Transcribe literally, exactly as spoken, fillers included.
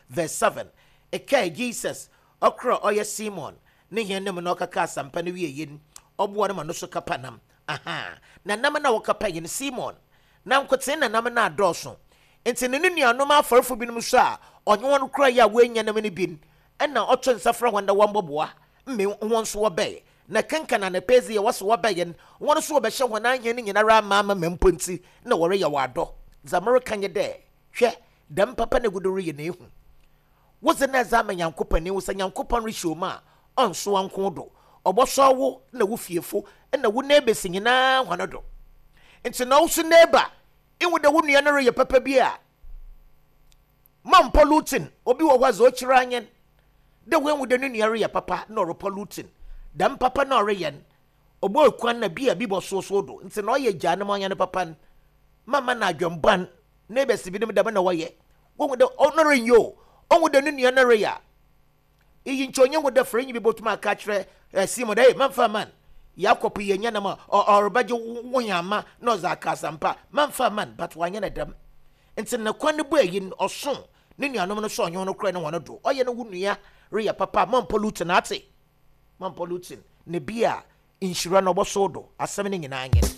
verse seven. Ɛkae Jesus ɔkora ɔyɛ Simon ne hɛn no mu na ɔkaka asɛmpa no wie yi no, ɔboa no ma no so kapa nam. Aha, na nam na wɔkapa yi no, Simon na nkotsee na nam no adɔɔso. Nti ne ne nuanom afɔrefo binom so a ɔnye wɔn kora yi a wɔanya nam no bi no, ɛna ɔto nsa frɛ wɔn dɛ wɔmbɔboa mme wɔn nso wɔbɛyɛ. Na kenkan anapa dzi yɛ wɔso wɔbɛyɛ no, wɔn nso wɔbɛhyɛ wɔn ahɛn no nyinara ama ama ma mpo nti na wɔreyɛ wɔ adɔ. Dza mereka nye dɛ, hwɛ, dɛm papa no egu do reyɛ na ehu. Wodze na ɛdze ama Nyankopɔn ni, wo sɛ Nyankopɔn rehyɛ wo mu a, ɔnso nko do. Ɔbɔsɔ wo na wo fiefo na wo neighbours nyinaa hɔn do. Nti na wo so neighbour, ihu dɛ wo nua no reyɛ papa bi a, ma mpolluting. Obi wɔ hɔ a dza ɔkyerɛ anyen dɛ woehu dɛ ne nua reyɛ papa na ɔrepolluting. Dɛm papa na ɔreyɛ no, ɔbɔ kwan na bi a bi bɔ soso do. Nti na ɔyɛ gyaa no ma ɔnyɛ no papa no. Mama no adwembɔn. Neighbours binom dɛm na wɔyɛ. Wohu dɛ ɔno renyɛ o, ɔhu dɛ ne nua no reyɛ a, iyi nkyɛ onye hu dɛ frɛ nyi bi bɔtum aka akyerɛ eh, Simon dɛ, hey, mamfa man. Yakob yɛ nya nam a ɔrebɛgye wo yama na ɔdze aka asɛmpa. Mamfa man, but wanyɛ no dɛm. Nti ne kwan no bɔ ayi no, ɔso ne nuanom no so ɔnye no kora ne wɔn do. Ɔyɛ no wo nua reyɛ papa, ma mpolluting ate. Ma mpolluting. Ne bi a nhyira no ɔbɔso do. Asɛm no nyinaa nye no.